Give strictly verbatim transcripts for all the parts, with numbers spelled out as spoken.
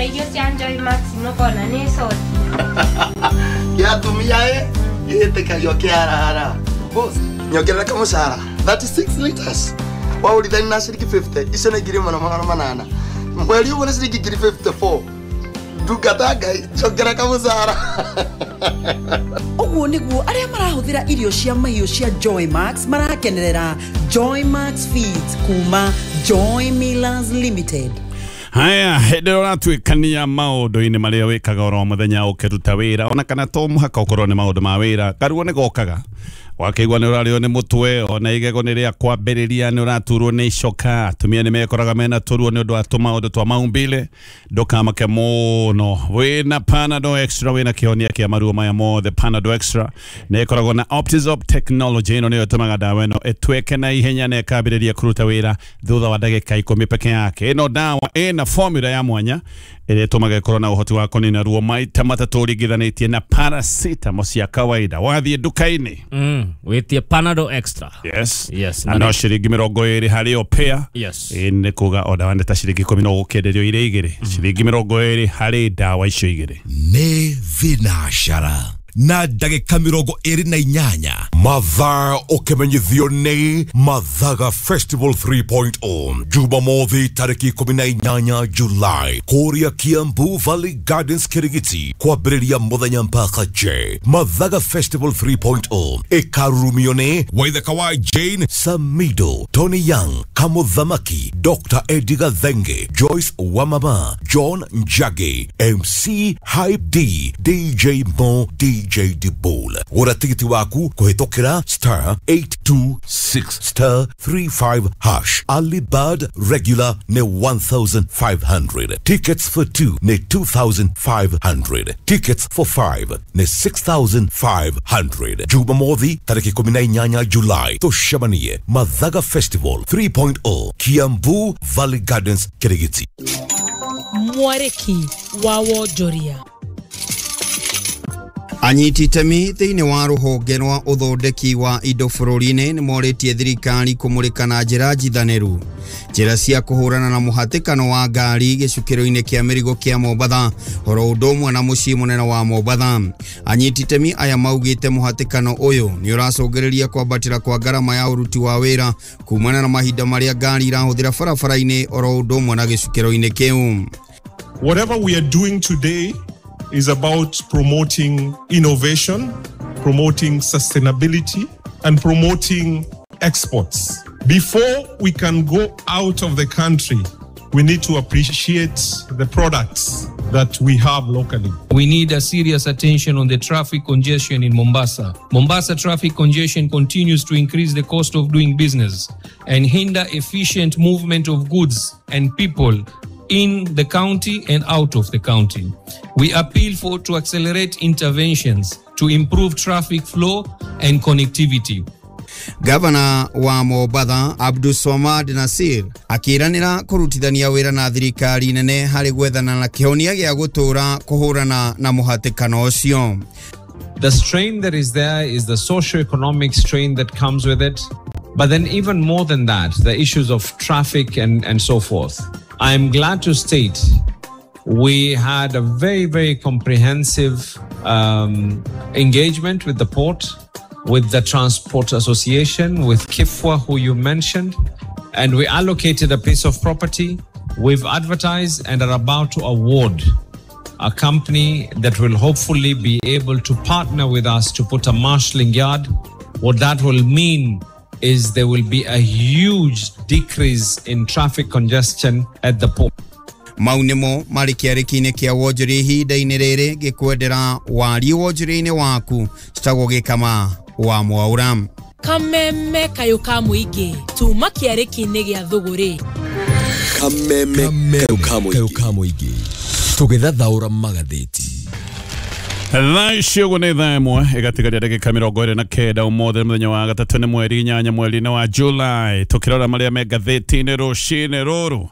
Wagũra irio cia Joy Max nũkona nĩ coti. Gĩatumia ĩ gĩtĩkagio kĩarara. Boss, nyongerera kamũcara thirty-six liters. Waũrithani na ciringi fifty, icio nĩ ngiri ĩmwe na magana manana. Mweri ũmwe nĩ ciringi ngiri fifty-four. Ndungata Ngai, njongera kamũcara. Ũguo nĩguo arĩa marahũthĩra irio cia mahiũ cia Joy Max marakenerera Joy Max Feeds kuma Joy Millers Limited. Haya, hĩndĩ ĩrĩa ũratuĩkania maũndũ-inĩ marĩa wĩkaga oro mũthenya ũkĩruta wĩra, ona kana to mũhaka ũkorwo nĩ maũndũ ma wĩra, karuo nĩ gokaga. Wakĩigua nĩ ũrarĩo nĩ mũtwe, ona igego nĩ rĩa kwambĩrĩria, nĩ ũraturwo nĩ icoka, atumia nĩ mekoraga mena tũruo nĩ ũndũ wa tũmaũndũ twa maumbile, ndũkamake mũno. Wĩna Panadol Extra, wĩna kĩhonia kĩa maruo maya mothe. Panadol Extra nĩ ĩkoragwo na Optizop technology, ĩno nĩyo ĩtũmaga ndawa ĩno ĩtuĩke na ihenya na ĩkambĩrĩria kũruta wĩra thutha wa ndagĩka ikũmi peke yake. Ĩno ndawa ĩna formula ya mwanya ĩrĩa ĩtũmaga ĩkorwo na ũhoti wa kũnina ruo maita matatũ ũringithanĩtie na paracetamol cia kawaida. Wathiĩ nduka-inĩ Mm, wĩtie Panadol Extra. Yes. Yes. Na no ciringi mĩrongo ĩrĩ harĩ o pair. Yes. Ĩ nĩ kuga o ndawa nĩ ta ciringi ikũmi no gũkĩenderio irĩ igĩrĩ. Ciringi mĩrongo ĩrĩ harĩ ndawa icio igĩrĩ. Nĩ thinacara na ndagĩka mĩrongo ĩrĩ na inyanya mathaa ũkĩmenyithio nĩ Mathaga Festival three point oh Jumamothi tarĩki ikũmi na inyanya July kũrĩa Kiambu Valley Gardens Kirigiti kwambĩrĩria mũthenya mpaka J. Mathaga Festival three point oh ĩkarurumio nĩ Waithaka wa Jane Samido, Tony Young, Kamuthamaki, Doctor Eddie Gathenge, Joyce Wamama, John Njagi, M C Hype D, D J Mo, D J Dibol. Gũra tigiti waku kũhĩtũkĩra star eight two six star three five hash. Early bird regular nĩ one thousand five hundred. Tickets for two nĩ two thousand five hundred. Tickets for five nĩ six thousand five hundred. Jumamothi tarĩki ikũmi na inyanya July tũcemanie Mathaga Festival three point oh Kiambu Valley Gardens Kirigiti. Mwarĩki wa wonjoria. Anyiti itemi thĩinĩ wa rũhonge rwa ũthondeki wa indo bũrũri-inĩ nĩ morĩtie thirikari kũmũrĩka na njĩra njithanĩru njĩra cia kũhũrana na mũhatĩkano wa ngari gĩcukĩro-inĩ kĩa mĩrigo kĩa Mombatha oro ũndũ ũmwe na mũciĩ mũnene wa Mombatha. Anyiti itemi aya maugĩte mũhatĩkano ũyũ nĩ ũracũngĩrĩria kwambatĩra kwa ngarama ya ũruti wa wĩra kumana na mahinda marĩa ngari irahũthĩra barabara-inĩ oro ũndũ ũmwe na gĩcukĩro-inĩ kĩu. Whatever we are doing today is about promoting innovation, promoting sustainability, and promoting exports. Before we can go out of the country, we need to appreciate the products that we have locally. We need a serious attention on the traffic congestion in Mombasa. Mombasa traffic congestion continues to increase the cost of doing business and hinder efficient movement of goods and people in the county and out of the county. We appeal for to accelerate interventions to improve traffic flow and connectivity. Gavana wa Mombatha Abdulswamad Nasir akĩranĩra kũrutithania wĩra na thirikari nene harĩ gwethana na kĩhonia gĩa gũtũra kũhũrana na mũhatĩkano ũcio. The strain that is there is the socio-economic strain that comes with it, but then even more than that, the issues of traffic and, and so forth. I am glad to state we had a very, very comprehensive um, engagement with the port, with the Transport Association, with Kifwa, who you mentioned, and we allocated a piece of property. We've advertised and are about to award a company that will hopefully be able to partner with us to put a marshalling yard. What that will mean is there will be a huge decrease in traffic congestion at the port. Mau nĩmo marĩ kĩarĩki-inĩ kĩa wonjoria ihinda-inĩ rĩrĩ gĩkwendera warie wonjoria-inĩ waku citagwo gĩkama wa Mwaura. Kameme kayũ ka mũingĩ tuma kĩarĩki-inĩ gĩa thũgũrĩ. Kameme kayũ ka mũingĩ tũgĩthathaũra magathĩti. Thaa ici ũguo nĩ thaa ĩmwe ĩgatigaria ndagĩka mĩrongo ĩrĩ na kenda ũmũthĩ mũthenya wa gatatũ nĩ mweri inyanya mweri-inĩ wa July. Tũkĩrora marĩa me ngathĩti-inĩ rũcinĩ rũrũ,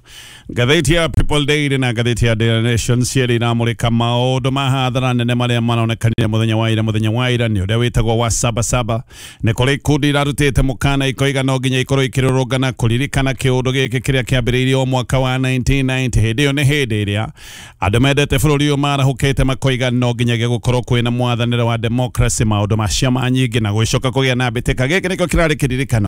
Ngathĩti ya People Daily na ngathĩti ya Daily Nation cierĩ iramũrĩka maũndũ ma hathara nene marĩa maronekanire mũthenya wa ira. Mũthenya wa ira nĩ ũrĩa wĩtagwo wa Sabasaba. Nĩ kũrĩ ikundi irarutĩte mũkana ikoiga no nginya ikorwo ikĩrũrũngana kũririkana kĩũndũ gĩkĩ kĩrĩa kĩambĩrĩirio o mwaka wa nineteen ninety. Hĩndĩ ĩyo nĩ hĩndĩ ĩrĩa andũ mendete bũrũri ũyũ marahũkĩte makoiga no nginyagia gũkorwo kwĩna mwathanĩre wa democracy, maũndũ ma ciama nyingĩ na gũcoka kũgĩa na mbĩtĩka. Gĩkĩ nĩkĩo kĩrarĩ kĩririkano,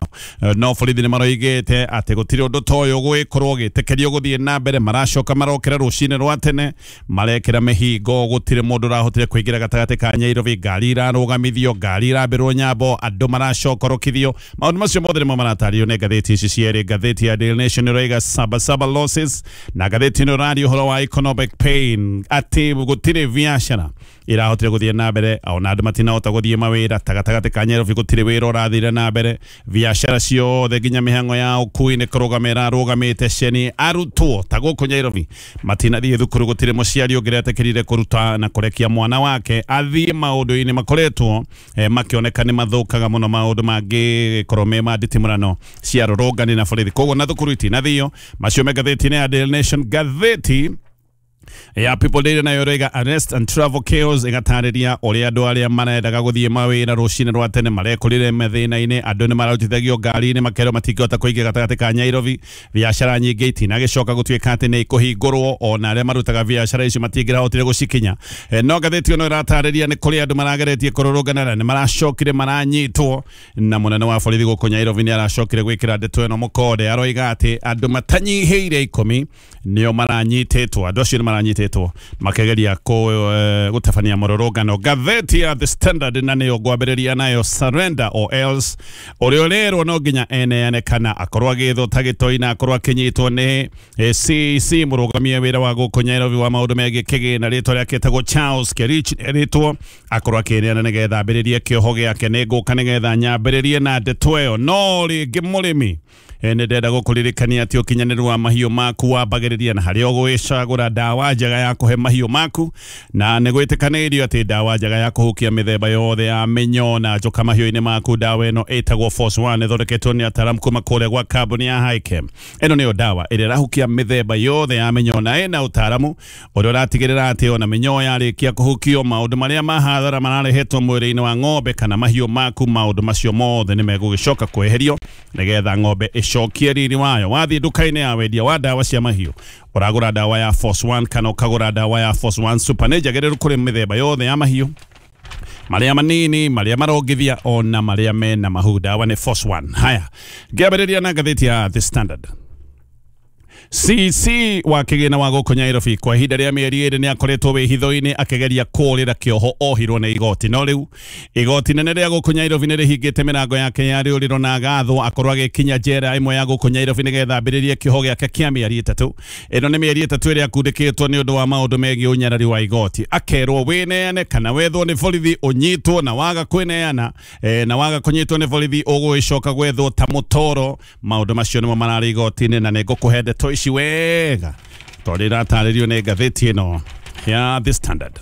no borithi nĩ maroigĩte atĩ gũtirĩ ũndũ ta ũyũ gwĩkorwo gĩtĩkĩrio gũthiĩ na mbere. Maracoka marokĩra rũcinĩ rwa tene, marekĩra mĩhingo, gũtirĩ mũndũ ũrahotire kũingĩra gatagatĩ ka Nyairobi, ngari irarũgamithio, ngari irambĩrwo nyambo, andũ maracokorokithio. Maũndũ macio mothe nĩmo maratarĩrio nĩ ngathĩti ici cierĩ. Ngathĩti ya Daily Nation ĩroiga Sabasaba losses, na ngathĩti ĩno ĩraria ũhoro wa economic pain, atĩ gũtirĩ biacara irahotire gũthiĩ na mbere, ona andũ matinahota gũthiĩ mawĩra. Ta gatagatĩ ka Nyairobi gũtirĩ wĩra ũrathire na mbere, biacara ciothe nginya mĩhang'o ya ũkui nĩ kũrũgama ĩrarũgamĩte. Ceni arutwo ta gũkũ Nyairobi matinathiĩ thukuru, gũtirĩ mũciari ũngĩretĩkĩrire kũruta na kũrekia mwana wake athiĩ maũndũ-inĩ makoretwo eh, makĩoneka nĩ mathũkaga mũno, maũndũ mangĩkorwo me ma nditimũrano cia rũrũngani na borithi, koguo na thukuru itinathio. Macio me ngathĩti-inĩ ya Daily Nation. Ngathĩti ya People Daily nayo ĩroiga arrest and travel chaos, ĩgatarĩria ũrĩa andũ arĩa marendaga gũthiĩ mawĩra rũcinĩ rwa tene marekorire mathĩna-inĩ. Andũ nĩ mararutithagio ngari-inĩ makerwo matingĩhota kũingĩra gatagatĩ ka Nyairobi, biacara nyingĩ itinagĩcoka gũtuĩka atĩ nĩ ikũhingũrwo, ona arĩa marutaga biacara icio matingĩrahotire gũcikinya. No ngathĩti ĩno ĩratarĩria nĩ kũrĩ andũ marageretie kũrũrũngana na nĩ maracokire maranyitwo, na mũnene wa borithi gũkũ Nyairobi nĩ aracokire gwĩkĩra ndeto ĩno mũkonde, aroiga atĩ andũ matanyihĩire ikũmi nĩo maranyitĩtwo, andũ acio nĩ maranyitĩtwo makegeria gũtabania mũrũrũngano. Ngathĩti ya The Standard na nĩyo ngwambĩrĩria nayo, surrender or else, ũrĩa ũrerwo no nginya eneane kana akorwo agĩthwo ta gĩtoi na akorwo akĩnyitwo nĩ C E C mũrũgamia wĩra wa gũkũ Nyairobi wa maũndũ megiĩ kĩgĩna, rĩtwa rĩake etagwo Charles Kerich, rĩtwo akorwo akĩneana nĩgetha ambĩrĩrie kĩoho gĩake. Nĩ ngũka nĩgetha nyambĩrĩrie na ndeto ĩyo. No rĩngĩ mũrĩmi nĩ ndenda gũkũririkania atĩ ũkinyanĩru wa mahiũ maku wambagĩrĩria na harĩa ũgwĩcagũra ndawa njega ya kũhe mahiũ maku, na nĩ gwĩtĩkanĩirio atĩ ndawa njega ya kũhukia mĩthemba yothe ya mĩnyoo na njoka mahiũ-inĩ maku, ndawa ĩno ĩtagwo Force One, ĩthondeketwo nĩ ataaramu kuma kũrĩa gwa kambuni ya Hikem. Ĩno nĩyo ndawa ĩrĩa ĩrahukia mĩthemba yothe ya mĩnyoo na ĩna ũtaaramu ũrĩa ũratigĩrĩra atĩ ona mĩnyoo yarĩkia kũhukio, maũndũ marĩa ma hathara mararehetwo mwĩrĩ-inĩ wa ng'ombe kana mahiũ maku, maũndũ macio mothe nĩ megũgĩcoka kweherio nĩgetha ng'ombe ĩcokie riri wayo. Wathiĩ nduka-inĩ ya wendia wa ndawa cia mahiũ, ũragũra ndawa ya Force One kana ũkagũra ndawa ya Force One Super, nĩ njagĩrĩru kũrĩ mĩthemba yothe ya mahiũ, marĩa manini, marĩa marongithia, ona marĩa mena mahu. Ndawa nĩ Force One. Haya, ngĩambĩrĩria na ngathĩti ya The Standard. C C wa kĩgĩna wa gũkũ Nyairobi kwa ihinda rĩa mĩeri ĩrĩ nĩ akoretwo wĩhitho-inĩ akĩgeria kũũrĩra kĩoho ohirwo nĩ igoti. No rĩu igoti nene rĩa gũkũ Nyairobi nĩ rĩhingĩte mĩrango yake ya rĩũrĩro na agathwo akorwo agĩkinya njera ĩmwe ya gũkũ Nyairobi nĩgetha ambĩrĩrie kĩoho gĩake kĩa mĩeri ĩtatũ. Ĩno nĩ mĩeri ĩtatũ ĩrĩa akundĩkĩtwo nĩ ũndũ wa maũndũ megiĩ ũnyarari wa igoti. Akerwo wĩneane kana wethwo nĩ borithi ũnyitwo, na waga kwĩneana eh, na waga kũnyitwo nĩ borithi ũgũgĩcoka gwethwo ta mũtoro. Maũndũ macio nĩmo mararĩ igoti-inĩ na nĩ ngũkũhe ndeto ici wega tondũ iratarĩrio nĩ ngathĩti ĩno ya The Standard.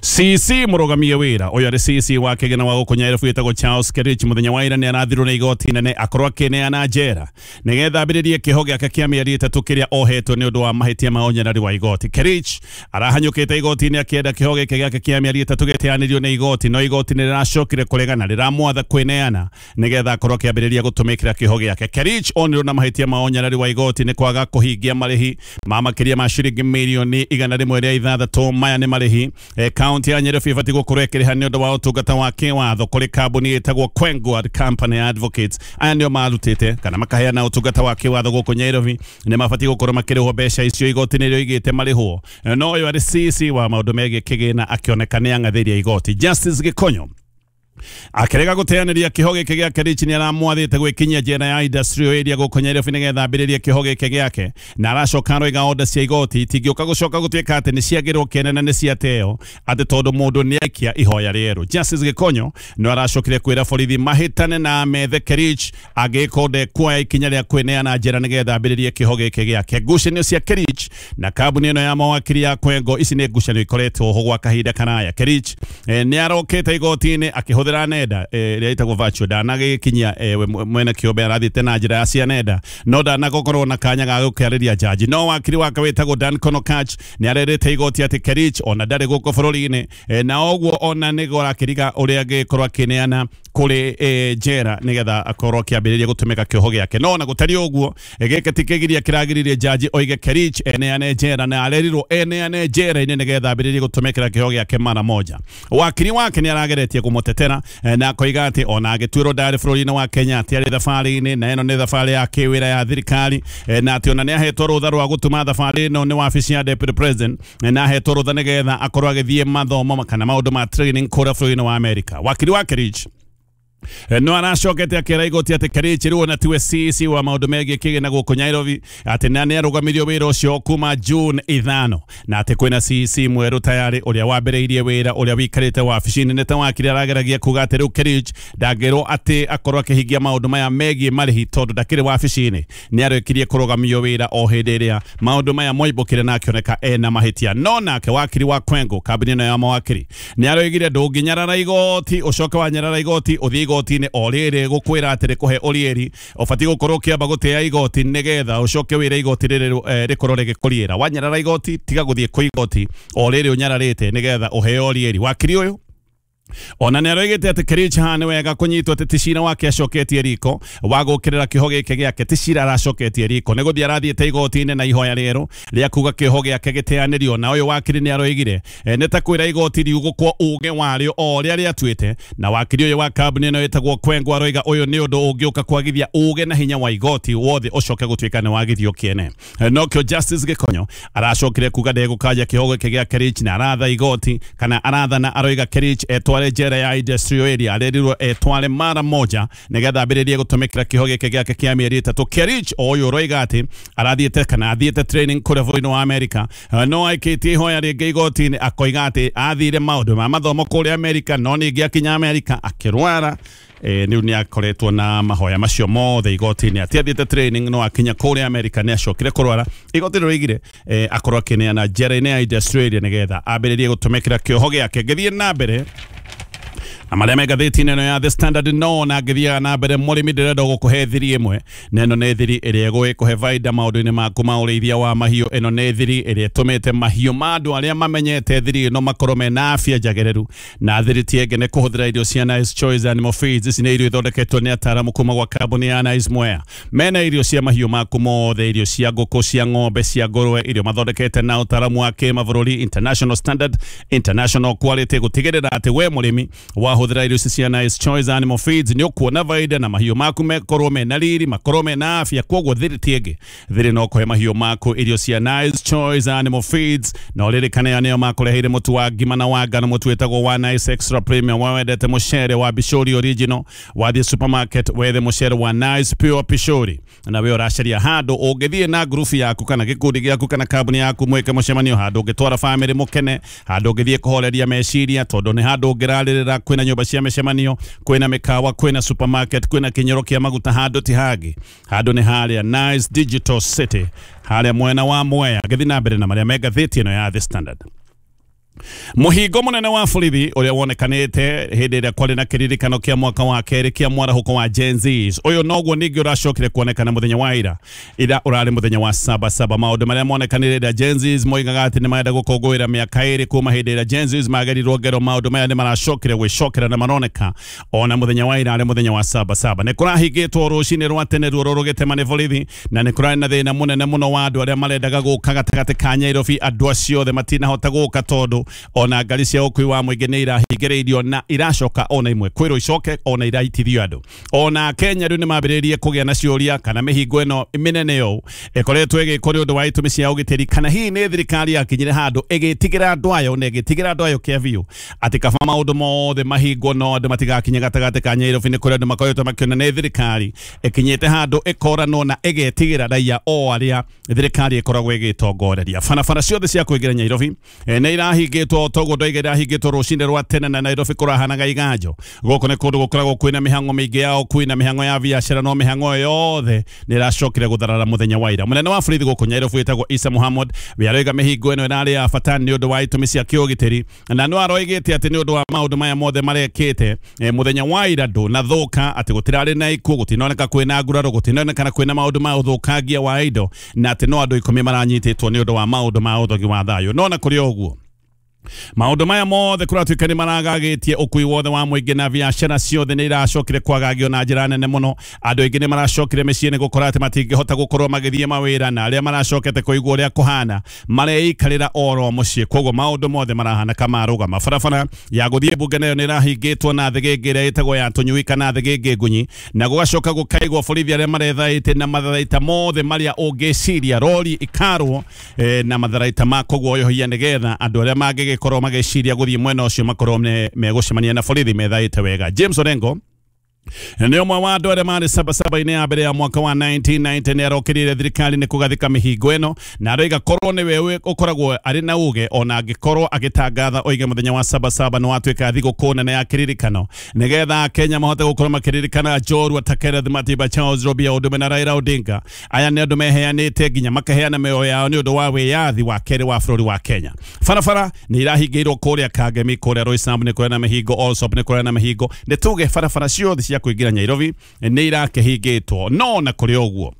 C C mũrũgamie wĩra ũyũ arĩ C C wa kĩgĩna wa gũkũ Nyairobi wĩtagwo Charles Kerich, mũthenya wa ira nĩ arathirwo nĩ igoti nene akorwo akĩneana njera nĩgetha ambĩrĩrie kĩoho gĩake kĩa mĩeri ĩtatũ kĩrĩa ohetwo nĩ ũndũ wa mahĩtia ma ũnyarari wa igoti. Kerich arahanyũkĩte igoti-inĩ akĩenda kĩoho gĩkĩ gĩake kĩa mĩeri ĩtatũ gĩteanĩrio nĩ igoti, no igoti nĩ rĩracokire kũregana, rĩramwatha kwĩneana nĩgetha akorwo akĩambĩrĩria gũtũmĩkĩra kĩoho gĩake. Kerich onirwo na mahĩtia ma ũnyarari wa igoti nĩ kwaga kũhingia marĩhi ma makĩria ma ciringi mirioni igana rĩmwe rĩa ithathatũ. Maya nĩ marĩhi kaunti ya Nyairobi ĩbatiĩ gũkorwo ĩkĩrĩha nĩ ũndũ wa ũtungata wa kĩwatho kũrĩ kambuni ĩtagwo Kwengward Company Advocates. Aya nĩo marutĩte kana makaheana ũtungata wa kĩwatho gũkũ Nyairobi, nĩ mabatiĩ gũkorwo makĩrĩhwo mbeca icio igoti nĩrĩo igĩte marĩhwo. No ũyũ arĩ C C wa maũndũ megiĩ kĩgĩna akĩoneka nĩ ang'athĩria igoti. Justice Gĩkonyo akĩrega gũteanĩria kĩoho gĩkĩ gĩa Kerich nĩ aramwathĩte gwĩkinyia njera ya industrial area gũkũ Nyairobi nĩgetha ambĩrĩrie kĩoho gĩkĩ gĩake, na aracoka aroiga order cia igoti itingĩũka gũcoka gũtuĩka atĩ nĩ ciagĩrwo kĩene na nĩ ciateo atĩ tondũ mũndũ nĩ aikia ihoya rĩerũ. Justice Gĩkonyo no aracokire kwĩra borithi mahĩtane na methe Kerich angĩkorwo ndekuoya ikinya rĩa kwĩneana njera nĩgetha ambĩrĩrie kĩoho gĩkĩ gĩake. Ngucanio cia Kerich na kambuni ĩno ya mawakiri ya Kwengo ici nĩ ngucanio ikoretwo ho gwa kahinda karaya. Kerich eh, nĩ arokĩte igoti-inĩ akĩhũthĩra akĩhũthĩra nenda ĩrĩa ĩtagwo virtual ndanagĩkinyia mwene kĩũmbe arathiĩte na njĩra ya cia nenda no ndanagokorwo na kanya ga gũkĩarĩria jaji. No wakiri wake wĩtagwo Dan Konokach nĩ arerĩte igoti atĩ Kerich ona ndarĩ gũkũ bũrũri-inĩ na ũguo ona nĩguo arakĩriga ũrĩa angĩkorwo akĩneana kũrĩ njera nĩgetha akorwo akĩambĩrĩria gũtũmĩka kĩoho gĩake. No ona gũtariĩ ũguo gĩkĩ ti kĩgiria kĩragiririe jaji oige Kerich eneane njera na arerirwo eneane njera-inĩ nĩgetha ambĩrĩrie gũtũmĩkĩra kĩoho gĩake mara moja. Wakiri wake nĩ arageretie kũmũtetera na akoiga atĩ ona agĩtuĩrwo ndarĩ bũrũri-inĩ wa Kenya atĩ arĩ thabarĩ-inĩ na ĩno nĩ thabarĩ ya kĩwĩra ya thirikari na atĩ ona nĩ ahetwo rũtha rwa gũtuma thabarĩ ĩno nĩ wabici ya Deputy President na ahetwo rũtha nĩgetha akorwo agĩthiĩ mathomo kana maũndũ ma training kũrĩa bũrũri-inĩ wa Amerika. Wakiri wa Kerich no aracokete akĩra igoti atĩ Kerich rĩu ona tiwe C E C wa maũndũ megiĩ kĩgĩna gũkũ Nairobi atĩ na nĩ arũgamirio wĩra ũcio kuma June ithano na atĩ kwĩna C E C mwerũ tayarĩ ũrĩa wambĩrĩirie wĩra ũrĩa wĩikarĩte wabici-inĩ nĩ ta wakiri arageragia kuga atĩ rĩu Kerich ndangĩrwo atĩ akorwo akĩhingia maũndũ maya megiĩ marĩhi tondũ ndakĩrĩ wabici-inĩ. Nĩ arĩkirie kũrũgamio wĩra o hĩndĩ ĩrĩa maũndũ maya moimbũkire na akĩoneka ena mahĩtia. No nake wakiri wa Kwengo kambuni ĩno ya mawakiri nĩ aroigire ndũngĩnyarara igoti ũcoke wanyarara igoti ũthiĩ igoti-inĩ o rĩrĩ gũkwĩra atĩ rĩkũhe ũriĩri ũbatiĩ gũkorwo ũkĩamba gũtĩa igoti nĩgetha ũcoke wĩre igoti rĩrĩ rĩkorwo rĩgĩkũriĩra. Wanyarara igoti tiga gũthiĩ kwĩ igoti o rĩrĩ ũnyararĩte nĩgetha ũheo ũriĩri. Wakiri ũyũ ona nĩ aroigĩte atĩ Kerich haha nĩ wega kũnyitwo atĩ ti cira wake acoketie riko wa gũkĩrĩra kĩoho gĩkĩ gĩake ti cira aracoketie riko nĩ gũthiĩ arathiĩte igoti-inĩ na ihoya rĩerũ rĩa kuga kĩoho gĩake gĩteanĩrio. Na ũyũ wakiri nĩ aroigire nĩ ta kwĩra igoti riugũkwo uge warĩo o ũrĩa rĩatuĩte. Na wakiri ũyũ wa kambuni ĩno ĩtagwo Kwengo aroiga ũyũ nĩ ũndũ ũngĩũka kwagithia uge na hinya wa igoti wothe ũcoke gũtuĩka nĩ wagithio kĩene. Nokĩo Justice Gĩkonyo aracokire kuga ndegũkanja kĩoho gĩkĩ gĩa Kerich na aratha igoti kana arathana aroiga Kerich etware njera ya industrial area arerirwo etware mara moja nigetha ambĩrĩrie gũtũmĩkĩra kĩoho gĩkĩ gĩake kĩa mĩeri ĩtatũ. Kerich ũyũ ũroiga atĩ arathiĩte kana athiĩte training kũrĩa bũrũri-inĩ wa Amerika no aikĩtie ihoya rĩngĩ igoti-inĩ akoiga atĩ athire maũndũ ma mathomo kũrĩa Amerika no ningĩ akinya Amerika akĩrwara. Rĩu nĩ akoretwo na mahoya macio mothe igoti-inĩ atĩ athiĩte training no akinya kũrĩa Amerika nĩ acokire kũrwara. Igoti rĩroigire akorwo akĩneana njera-inĩ ya industrial area nĩgetha ambĩrĩrie gũtũmĩkĩra kĩoho gĩake. Ngĩthiĩ na mbere na marĩa me ngathĩti-inĩ ĩno ya The Standard no na ngĩthiaga na mbere mũrĩmi ndĩrenda gũkũhe thiri ĩmwe na ĩno nĩ thiri ĩrĩa ĩgũkũhe baida maũndũ-inĩ maku ma ũrĩithia wa mahiũ. Ĩno nĩ thiri ĩrĩa ĩtũmĩte mahiũ ma andũ arĩa mamenyete thiri ĩno makorwo mena afya njagĩrĩru. Na thiri ti ĩngĩ nĩ kũhũthĩra irio cia Nice Choice Animal Feeds. Ici nĩ irio ithondeketwo nĩ ataaramu kuma gwa kambuni ya Nice Mwea. Mena irio cia mahiũ maku mothe, irio cia ngũkũ, cia ng'ombe, cia ngũrwe, irio mathondekete na ũtaaramu wa kĩmabũrũri, international standard, international quality, gũtigĩrĩra atĩ we mũrĩmi wahũthĩra irio ici cia Nice Choice Animal Feeds nĩ ũkuona baida na mahiũ maku mekorwo mena riri, makorwo mena afya. Koguo thiri ti ĩngĩ, thiri no kũhe mahiũ maku irio cia Nice Choice Animal Feeds. Na ũririkane nĩo makũreheire mũtu wa ngima na wa ngano, mũtu wĩtagwo wa Nice Extra Premium. We wendete mũcere wa Bishori Original, wathiĩ supermarket wethe mũcere wa Nice Pure Bishori na we ũracaria handũ ũngĩthiĩ na ngurubu yaku kana gĩkundi gĩaku kana kambuni yaku mwĩke mũcemanio, handũ ũngĩtwara famĩlĩ mũkene, handũ ũngĩthiĩ kũhoreria meciria tondũ nĩ handũ ũngĩrarĩrĩra. Kwĩna nyũmba cia mĩcemanio, kwĩna mĩkawa, kwĩna supermarket, kwĩna kĩnyoro kĩa maguta, handũ ti hangĩ, handũ nĩ harĩa Nice Digital City harĩa mwena wa Mwea. Ngĩthiĩ na mbere na marĩa me ngathĩti ĩno ya The Standard. Mũhingo mũnene wa borithi ũrĩa wonekanĩte hĩndĩ ĩrĩa kwarĩ na kĩririkano kĩa mwaka wa kerĩ kĩa mwarahũko wa Gen Zs, ũyũ noguo ningĩ ũracokire kuonekana mũthenya wa ira ira ũrarĩ mũthenya wa saba saba. Maũndũ marĩa monekanire ĩrĩa Gen Zs moigaga atĩ nĩ marenda gũkũngũĩra mĩaka ĩrĩ kuma hĩndĩ ĩrĩa Gen Zs magerirwo ngero, maũndũ maya nĩ maracokire gwĩcokera na maroneka ona mũthenya wa ira arĩ mũthenya wa saba saba. Nĩ kũrahingĩtwo rũcinĩ rwa tene ruo rũgĩtema nĩ borithi na nĩ kũrarĩ na thĩna mũnene mũno wa andũ arĩa marendaga gũka gatagatĩ ka Nairobi. Andũ acio othe matinahota gũka tondũ ona ngari cia ũkui wa mũingĩ nĩ irahingĩrĩirio na iracoka ona imwe kwĩrwo icoke ona iraitithio andũ. Ona Kenya rĩu nĩ mambĩrĩirie kũgĩa na ciũria kana mĩhingo ĩno mĩnene ũũ ĩkoretwo ĩgĩkwo nĩ ũndũ wa itũmi cia ũgitĩri, kana hihi nĩ thirikari yakinyire handũ ĩgĩtigĩra andũ ayo na ĩgĩtigĩra andũ ayo kĩa biũ atĩ kaba maũndũ mothe mahingwo no andũ matigakinye gatagatĩ ka Nairobi. Nĩ kũrĩa andũ makoretwo makĩona nĩ thirikari ĩkinyĩte handũ ĩkoranwo na ĩgetigĩra raia o arĩa thirikari ĩkoragwo ĩgĩtongoreria. Barabara ciothe cia kũingĩra Nairobi nĩ irahingĩrĩirio ĩrahingĩtwo toguo ndoiga ĩrahingĩtwo rũcinĩ rwa tene na Nairobi kũrahanaga iganjo. Gũkũ nĩ kũndũ gũkoragwo kwĩna mĩhang'o mĩingĩ ya ũkui na mĩhang'o ya biacara, no mĩhang'o yothe nĩ ĩracokire gũtharara mũthenya wa ira. Mũnene wa borithi gũkũ Nairobi wĩtagwo Isa Muhammad we aroiga mĩhingo ĩno ĩrarĩ ya bata nĩ ũndũ wa itũmi cia kĩũgitĩri, na no aroigĩte atĩ nĩ ũndũ wa maũndũ maya mothe marekĩte mũthenya wa ira ndũnathũka, atĩ gũtirarĩ na ikuũ, gũtinoneka kwĩna nguraro, gũtinonekana kwĩna maũndũ ma ũthũkangia wa indo, na atĩ no andũ ikũmi maranyitĩtwo nĩ ũndũ wa maũndũ ma ũthogi wa thayũ. No na kũrĩ ũguo maũndũ maya mothe kũratuĩka nĩ maragagĩtie ũkui wothe wa mũingĩ na biacara ciothe nĩ iracokire kwagagio na njĩra nene mũno. Andũ aingĩ nĩ maracokire mĩciĩ nĩ gũkora atĩ matingĩhota gũkorwo magĩthiĩ mawĩra, na arĩa maracokete kũigua ũrĩa kũhana mareikarĩra oro mũciĩ. Koguo maũndũ mothe marahana kamarũgama. Barabara ya gũthiĩ mbunge nayo nĩ ĩrahingĩtwo na thĩgĩngĩ ĩrĩa ĩtagwo ya tũnyui kana thĩgĩngĩ ngunyi, na gũgacoka gũkaigwo borithi arĩa marethaĩte na matharaita mothe marĩa ũngĩciria, rori ikarwo eh, na matharaita ma kũguoyohia nĩgetha andũ arĩa mangĩ korwo mageciria guthie mwena ucio makorwo megũcemania na borithi methaĩte wega. James Orengo nĩ ũmwe wa andũ arĩa marĩ sabasaba-inĩ ya mbere ya mwaka wa nineteen ninety nĩ arokĩrĩire thirikari nĩ kũgathĩka mĩhingo ĩno, na aroiga korwo nĩwe ũkoragwo arĩ na uge ona angĩkorwo agĩtangatha oige mũthenya wa sabasaba nĩ watuĩka thigũkũ nene ya kĩririkano nĩgetha Kenya mahote gũkorwo makĩririkana njorua ta Kenneth Matiba, Charles Robia Odume na Raila Odinga. Aya nĩ andũ meheanĩte nginya makaheana mĩoyo yao nĩ ũndũ wa wĩyathi wa kerĩ wa bũrũri wa Kenya. Barabara nĩ irahingĩirwo kũrĩa Kangemi, kũrĩa Roysambu nĩ kũrĩa na mĩhingo, Allsops nĩ kũrĩa na mĩhingo, nĩ tuge barabara ciothe cia kũingĩra Nairobi nĩ irakĩhingĩtwo. No na kũrĩ ũguo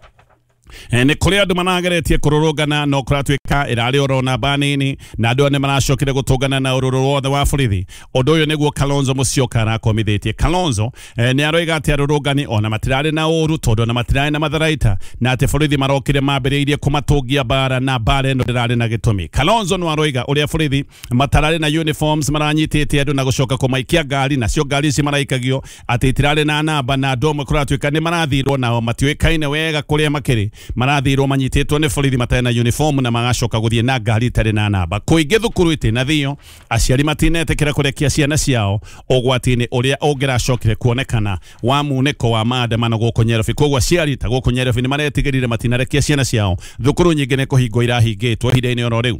nĩ kũrĩ andũ manageretie kũrũrũngana, no kũratuĩka ĩrarĩ oro namba nini, na andũ nĩ maracokire gũtũngana na ũrũrũ wothe wa borithi. Ũndũ ũyũ nĩguo Kalonzo Musyoka arakomithĩtie. Kalonzo nĩ aroiga atĩ arũrũngani ona matirarĩ na ũru tondũ ona matirarĩ na matharaita, na atĩ borithi marokire mambĩrĩirie kũmatũngia mbara na mbara ĩno ndĩrarĩ na gĩtũmi. Kalonzo no aroiga ũrĩa borithi matararĩ na uniforms maranyitĩte andũ na gũcoka kũmaikia ngari, nacio ngari ici maraikagio atĩ itirarĩ na namba, na andũ amwe kũratuĩka nĩ marathirwo nao matiũĩkaine wega kũrĩa makĩrĩ, marathirwo manyitĩtwo nĩ borithi matarĩ na uniform na magacoka gũthiĩ na ngari itarĩ na namba. Kũingĩ thukuru itinathio, aciari matinetĩkĩra kũrekia ciana ciao ũgwati-inĩ ũrĩa ũngĩracokire kuonekana wa munĩko wa maandamano gũkũ Nairobi. Koguo aciari ta gũkũ Nairobi nĩ maretigĩrire matinarekia ciana ciao thukuru nyingĩ nĩ kũhingwo irahingĩtwo ihinda-inĩ oro rĩu.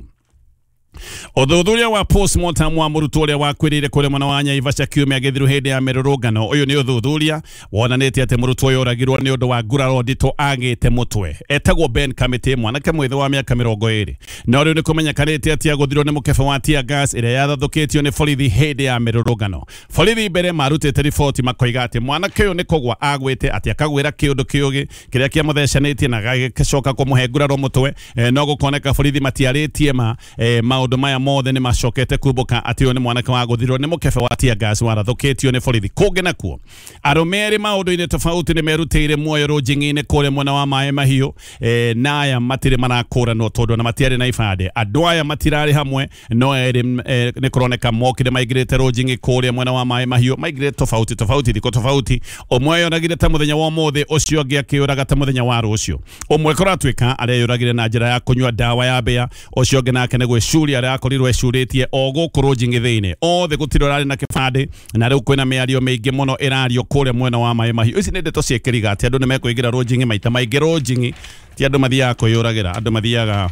Ũthuthuria wa postmortem wa mũrutwo ũrĩa wakuĩrĩire kũrĩa mwena wa Naivasha kiumia gĩthiru hĩndĩ ya mĩrũrũngano. Ũyũ nĩ ũthuthuria wonanĩtie atĩ mũrutwo ũyũ oragirwo nĩ ũndũ wa nguraro nditũ agĩte mũtwe. Etagwo Ben Kamiti, mwanake mwĩthĩ wa mĩaka mĩrongo ĩrĩ. No rĩu nĩ kũmenyekanĩte atĩ agũthirwo nĩ mũkebe wa tear gas ĩrĩa yathathũkĩtio nĩ borithi hĩndĩ ya mĩrũrũngano. Borithi mbere marutĩte riboti makoiga atĩ mwanake ũyũ nĩ kũgwa agwĩte, atĩ akagwĩra kĩũndũ kĩũgĩ kĩrĩa kĩamũthecanĩtie na gagĩcoka kũmũhe nguraro mũtwe. No gũkoneka borithi matiarĩtie ma maũndũ maya mothe nĩ macokete kumbũka atĩ ũyũ nĩ mwanake wa gũthirwo nĩ mũkebe wa tear gas warathũkĩtio nĩ borithi. Kũngĩ nakuo arũme erĩ maũndũ-inĩ tofauti nĩ merutĩire muoyo rũnjing'i-inĩ kũrĩa mwena wa Maĩ Mahiũ, e, na aya matirĩ marakũranwo tondũ ona matiarĩ na ibandĩ. Andũ aya matirarĩ hamwe, no erĩ e, nĩ kũroneka mokire maingĩrĩte rũnjing'i kũrĩa mwena wa Maĩ Mahiũ, maingĩrĩte tofauti tofauti thikũ tofauti. Ũmwe yoragire ta mũthenya wa ũmũthĩ, ũcio ũngĩ akĩũraga ta mũthenya wa rũciũ. Ũmwe kũratuĩka areyũragire na njĩra ya kũnyua ndawa ya mbĩa, ũcio ũngĩ nake nĩ gwĩcuria arĩa akorirwo ecurĩtie o gũkũ rũnjing'i thĩinĩ. Othe gũtirĩ ũrarĩ na kĩbandĩ, na rĩu kwĩna mĩario mĩingĩ mũno ĩrario kũrĩa mwena wa Maĩ Mahiũ. Ici nĩ ndeto ciĩkĩriga atĩ andũ nĩ mekũingĩra rũnjing'i maita maingĩ. Rũnjing'i ti andũ mathiaga kwĩyũragĩra, andũ mathiaga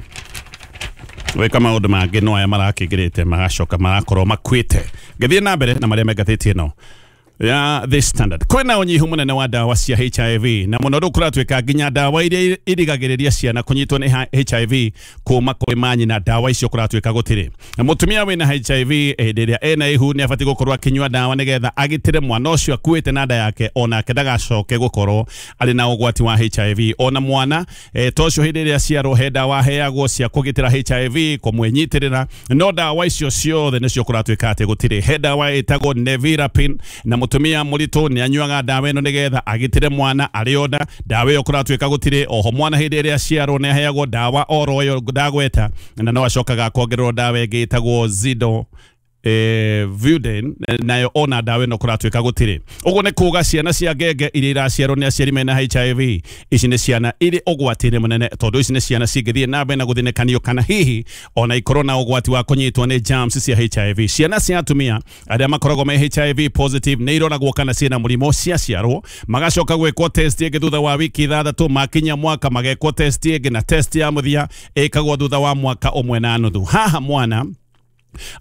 gwĩka maũndũ mangĩ, no aya marakĩingĩrĩte magacoka marakorwo makuĩte. Ngĩthiĩ na mbere na marĩa me ngathĩti ĩno ya The Standard, kwĩna ũnyihu mũnene wa ndawa cia H I V, na mũno rĩu kũratuĩka nginya ndawa iria irigagĩrĩria ciana kũnyitwo nĩ H I V kuma kũrĩ manyina, ndawa icio kũratuĩka gũtirĩ. Na mũtumia wĩna H I V hĩndĩ ĩrĩa ena ihu nĩ abatiĩ gũkorwo akĩnyua ndawa nĩgetha agitĩre mwana ũcio akuĩte na nda yake, onake ndagacoke gũkorwo arĩ na ũgwati wa H I V. Ona mwana e, to ũcio hĩndĩ ĩrĩa aciarwo he ndawa aheagwo cia kũgitĩra H I V kũmwĩnyitĩrĩra, no ndawa icio ciothe nĩcio kũratuĩka atĩ gũtirĩ. He ndawa ĩtagwo Nevirapine, na mũtumia mũritũ nĩ anyuaga ndawa ĩno nĩgetha agitĩre mwana arĩ ona ndawa ĩyo kũratuĩka gũtirĩ. Oho mwana hĩndĩ ĩrĩa aciarwo nĩ aheagwo ndawa oro ĩyo ndagweta, na no acokaga akongererwo ndawa ĩngĩ ĩtagwo Zido eh, Vuden, nayo ona ndawa ĩno kũratuĩka gũtirĩ. Ũguo nĩ kuga ciana cia ngenge iria iraciarwo nĩ aciari mena H I V, ici nĩ ciana irĩ ũgwati-inĩ mũnene, tondũ ici nĩ ciana cingĩthiĩ na mbere na gũthĩnĩkanio kana hihi ona ikorwo na ũgwati wa kũnyitwo nĩ germs cia H I V. Ciana cia atumia arĩa makoragwo me H I V positive nĩ iroragwo kana ciĩna mũrimũ ciaciarwo, magacoka gwĩkwo test ĩngĩ thutha wa wiki ithathatũ, makinya mwaka magekwo test ĩngĩ, na test ya mũthia ĩkagwo thutha wa mwaka ũmwe na nuthu. Haha mwana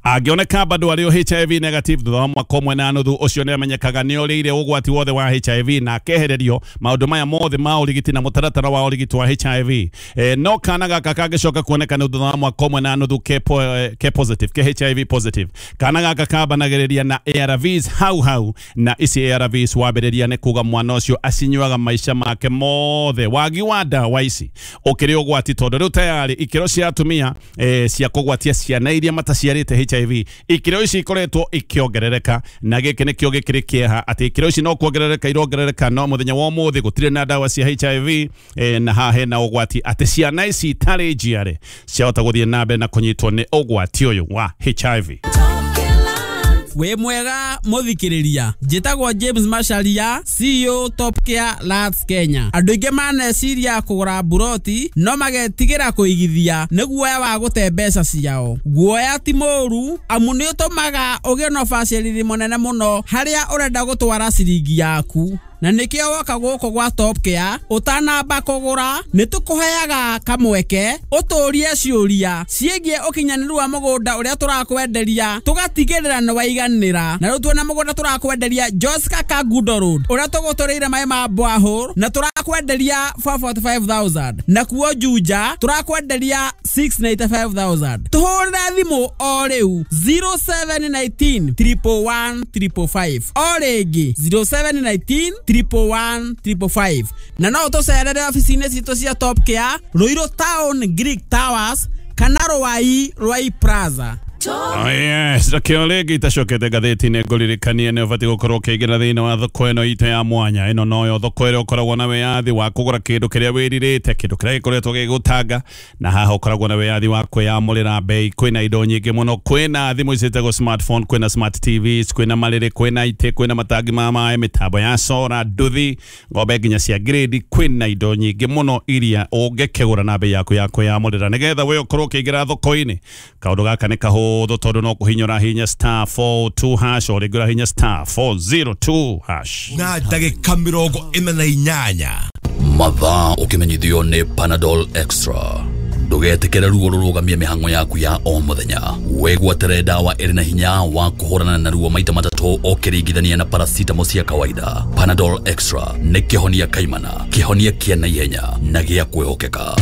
Angĩoneka bado arĩ o H I V negative thutha wa mwaka ũmwe na nuthu, ũcio nĩ amenyekaga nĩ orĩire ũgwati wothe wa H I V na akehererio maũndũ maya mothe ma ũrigiti na mũtaratara wa ũrigiti wa H I V. E, no kana gaka kangĩcoka kuoneka nĩ thutha wa mwaka ũmwe na nuthu ke, po, ke positive, ke H I V positive, kana gaka kambanagĩrĩria na A R Vs hau hau, na ici A R Vs wambĩrĩria nĩ kuga mwana ũcio acinyuaga maica make mothe. Wagi wa ndawa ici ũkĩrĩ ũgwati tondũ rĩu tayari ikĩro cia atumia e, cia kũgwatia ciana iria mataciarĩte H I V, ikĩro ici ikoretwo ikĩongerereka, na gĩkĩ nĩkĩo gĩkĩrĩ kĩeha atĩ ikĩro ici no kuongerereka irongerereka, no mũthenya wa ũmũthĩ gũtirĩ na ndawa cia H I V e, na haha hena ũgwati atĩ ciana ici itarĩ njiare ciahota gũthiĩ na mbere na kũnyitwo nĩ ũgwati ũyũ wa H I V. Wĩ mwega mũthikĩrĩria, njĩtagwo James Macharia, C E O Top Care Lands Kenya. Andũ aingĩ maneciria kũgũra mburoti no magetigĩra kũigithia nĩ guoya wa gũte mbeca ciao. Guoya ti mũũru amu nĩ ũtũmaga ũgĩe na ũbacĩrĩri mũnene mũno harĩa ũrenda gũtwara ciringi yaku. Na nĩkĩo woka gũkũ gwa Top Care ũtanamba kũgũra nĩ tũkũheaga kamweke ũtũrie ciũria ciĩgiĩ ũkinyanĩru wa mũgũnda ũrĩa tũrakwenderia, tũgatigĩrĩra nĩ waiganĩra. Na rĩu tuona mũgũnda tũrakwenderia Joska Kangundo Road ũrĩa tũgũtũrĩire maĩ ma borehole na tũrakwenderia four forty-five thousand, na kuo Juja tũrakwenderia six ninety-five thousand. Tũhũrĩre thimũ o rĩu zero seven nineteen triple one triple five, o rĩngĩ zero seven nineteen triple one triple five. Na no ũtũcerere ofici-inĩ citũ cia Top Care Ruiru Town Greek Towers kana Ruai Ruai Plaza. Oh yes, rakio rĩngĩ itacokete ngathĩti-inĩ ngũririkanie nĩ ũbatiĩ gũkorwo ũkĩingĩra thĩinĩ wa thoko ĩno itũ ya mwanya. Ĩno noyo thoko ĩrĩa ũkoragwo na wĩyathi wa kũgũra kĩndũ kĩrĩa wĩrirĩte, kĩndũ kĩrĩa gĩkoretwo gĩgũtanga, na haha ũkoragwo na wĩyathi wa kwĩyamũrĩra bei. Kwĩna indo nyingĩ mũno, kwĩna thimũ ciĩtagwo smartphone, kwĩna smart T Vs, kwĩna marĩrĩ, kwĩna itĩ, kwĩna matangi ma maĩ, mĩtambo ya sora, nduthi, ng'ombe nginya cia grade. Kwĩna indo nyingĩ mũno iria ũngĩkĩgũra na bei yaku ya kwĩyamũrĩra nĩgetha we ũkorwo ũkĩingĩra thoko-inĩ. Kaũndũ gaka nĩ kahũthũ tondu no kuhinyora hinya star four two hash o rĩngĩ hinya star four zero two hash na ndagĩka mĩrongo ĩna na inyanya. Mathaa ũkĩmenyithio nĩ Panadol Extra. Ndũgetĩkĩre ruo rũrũgamie mĩhang'o yaku ya o mũthenya. Wĩgwatĩre ndawa ĩrĩ na hinya wa kũhũrana na ruo maita matatũ ũkĩringithania na paracetamol cia kawaida. Panadol Extra nĩ kĩhonia kaimana, kĩhonia kĩa naihenya na gĩa kwĩhokeka.